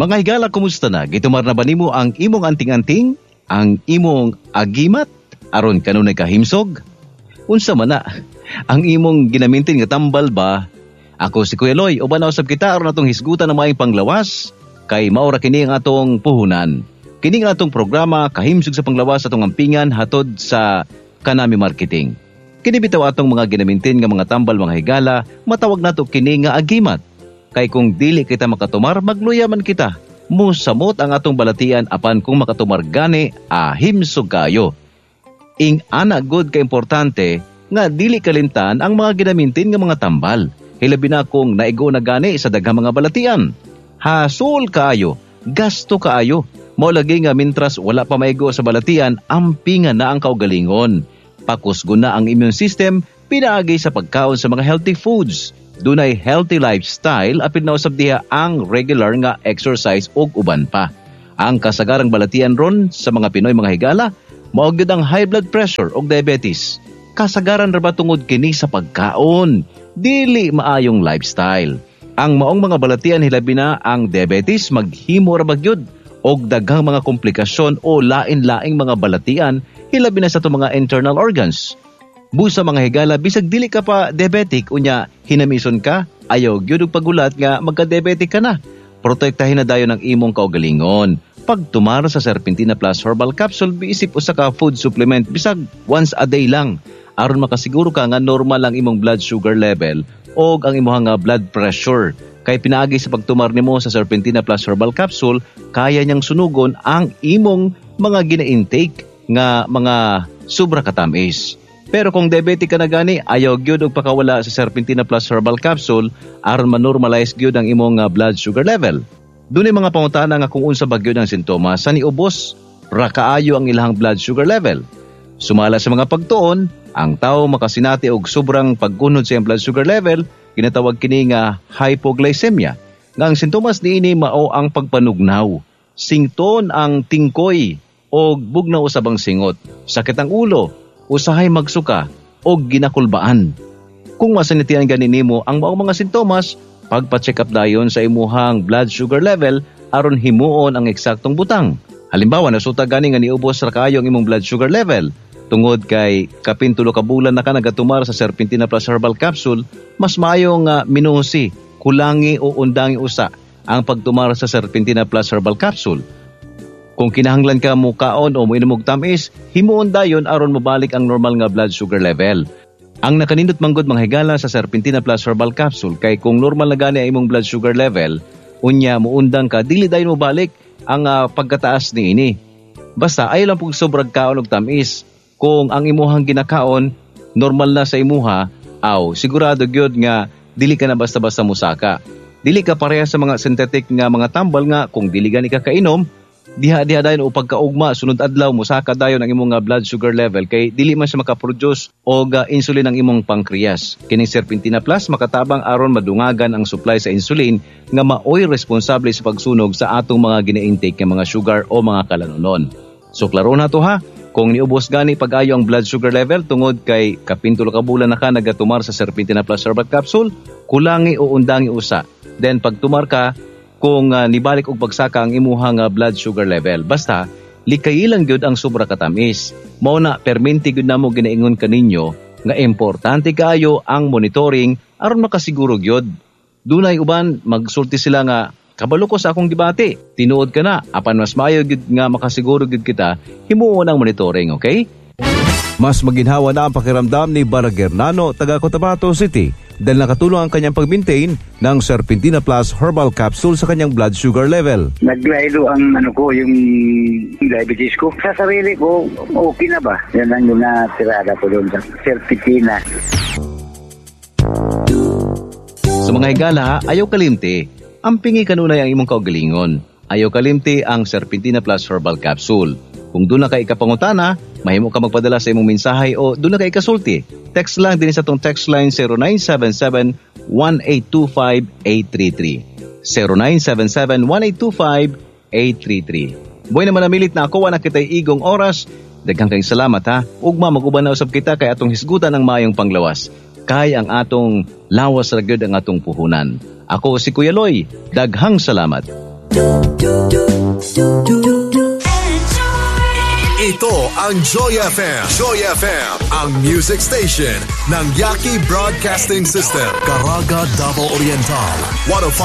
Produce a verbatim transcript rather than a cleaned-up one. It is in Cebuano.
Mga higala, kumusta na? Gitumar na ba nimo ang imong anting-anting? Ang imong agimat? Aron kanunay kahimsog? Unsa man na? Ang imong ginamintin nga tambal ba? Ako si Kuya Loy, uban na usab kita aron atong hisgutan ang maayong panglawas kay mao ra kini ang atong puhunan. Kini ang atong programa kahimsog sa panglawas atong ampingan hatod sa Kanami Marketing. Kini bitaw atong mga ginamintin nga mga tambal mga higala, matawag nato kini nga agimat. Kay kung dili kita makatumar, magluya man kita. Musamot ang atong balatian apan kung makatumar gani, ahimsog kayo. Ing ana gud ka importante nga dili kalimtan ang mga ginamintin nga mga tambal. Hilabi na kung naigo na gani sa daghang mga balatian. Hasol kaayo, gasto kaayo. Mao lagi nga mintras wala pa maigo sa balatian, ampingan na ang kaugalingon. Pakusgon na ang immune system, pinaagi sa pagkaon sa mga healthy foods. Dunay healthy lifestyle apil na usab diha ang regular nga exercise ug uban pa. Ang kasagarang balatian ron sa mga Pinoy mga higala, mao gyud ang high blood pressure ug diabetes. Kasagaran ra ba tungod kini sa pagkaon, dili maayong lifestyle. Ang maong mga balatian hilabi na ang diabetes maghimo ra ba gyud og daghang mga komplikasyon o lain-laing mga balatian hilabi na sa atong mga internal organs. Busa mga higala, bisag dili ka pa diabetic, unya hinamison ka, ayaw gyud og pagulat nga magka-diabetic ka na. Protektahin na dayon ang imong kaugalingon. Pagtumar sa Serpentina Plus Herbal Capsule, biisip usa ka food supplement bisag once a day lang aron makasiguro ka nga normal ang imong blood sugar level o ang imong nga blood pressure. Kay pinaagi sa pagtumar nimo sa Serpentina Plus Herbal Capsule, kaya niyang sunugon ang imong mga gina-intake nga mga sobra katamis. Pero kung diabetic ka na gani, ayaw gyud og pakawala sa Serpentina Plus Herbal Capsule aron ma-normalize gyud ang imong uh, blood sugar level. Dunay mga pangutana nga kung unsa ba gyud ang sintomas sa niubos ra kaayo ang ilahang blood sugar level. Sumala sa mga pagtuon, ang tao makasinati og sobrang paggunod sa iyang blood sugar level, ginatawag kini nga hypoglycemia. Nga ang sintomas niini mao ang pagpanugnaw, sington ang tingkoy og bugnaw usab ang singot, sakit ang ulo, usahay magsuka o ginakulbaan. Kung masinatian gani nimo ang maong mga sintomas, pagpa-check up dayon sa imuhang blood sugar level aron himuon ang eksaktong butang. Halimbawa, nasuta gani nga niubos ra kaayo ang imong blood sugar level. Tungod kay kapin tulo ka bulan na ka nagatumar sa Serpentina Plus Herbal Capsule, mas maayo nga minusi, kulangi o undangi usa ang pagtumar sa Serpentina Plus Herbal Capsule. Kung kinahanglan ka mo kaon o moinom og tamis, himuon dayon aron mobalik ang normal nga blood sugar level. Ang nakanindot manggod mga higala sa Serpentina Plus Herbal Capsule kay kung normal na gani ang imong blood sugar level, unya muundang ka dili dayon mobalik ang uh, pagkataas niini. Basta ayaw lang pug sobrang kaon og tamis. Kung ang imuhang ginakaon normal na sa imuha, aw sigurado gyud nga dili ka na basta-basta musaka. Dili ka pareha sa mga synthetic nga mga tambal nga kung dili gani ka kainom, diha-diha dayon o pagkaugma sunod adlaw mosaka dayon ang imong blood sugar level kay dili man siya makaproduce og uh, insulin ang imong pancreas. Kining Serpentina Plus makatabang aron madungagan ang supply sa insulin nga maoy responsable sa pagsunog sa atong mga gina-intake nga mga sugar o mga kalanunon. So klaro na to ha. Kung niubos gani pag-ayo ang blood sugar level tungod kay kapin tulo ka bulan na ka nagatumar sa Serpentina Plus Herbal Capsule, kulangi o undangi usa. Then pagtumar ka, kung uh, nibalik og pagsaka ang imuhang uh, blood sugar level. Basta likayi lang gyud ang sobra katamis. Mao na perminti gyud namo ginaingon kaninyo nga importante kaayo ang monitoring aron makasiguro gyud. Dunay uban magsulti sila nga kabalo ko sa akong gibati. Tinuod ka na apan mas maayo gyud nga makasiguro gyud kita himuon ang monitoring, okay? Mas maginhawa na ang pakiramdam ni Baragernano taga Cotabato City dahil nakatulong ang kanyang pag-maintain ng Serpentina Plus Herbal Capsule sa kanyang blood sugar level. Naglaylo ang ano ko, yung diabetes ko. Sa sarili ko, okay na ba? Yan ang yung natirada ko doon sa Serpentina. Sa mga higala, ayaw kalimti. Ampingi kanunay ang imong kaugalingon. Ayaw kalimti ang Serpentina Plus Herbal Capsule. Kung doon na ka ikapangutana, mahimo ka magpadala sa imong mensahe o doon na ka ikasulti. Text lang din sa tong text line zero nine seven seven, one eight two five, eight three three. zero nine seven seven, one eight two five, eight three three. Buhay naman namilit na ako, wala kita'y igong oras. Daghang kayong salamat ha. Ugma mag-uban na usab kita kay atong hisgutan ang maayong panglawas. Kay ang atong lawas ra gyud ang atong puhunan. Ako si Kuya Loy. Daghang salamat. do, do, do, do, do. Ito ang Joy F M. Joy F M, ang music station ng Yaki Broadcasting System. Caraga, Davao Oriental, one oh five.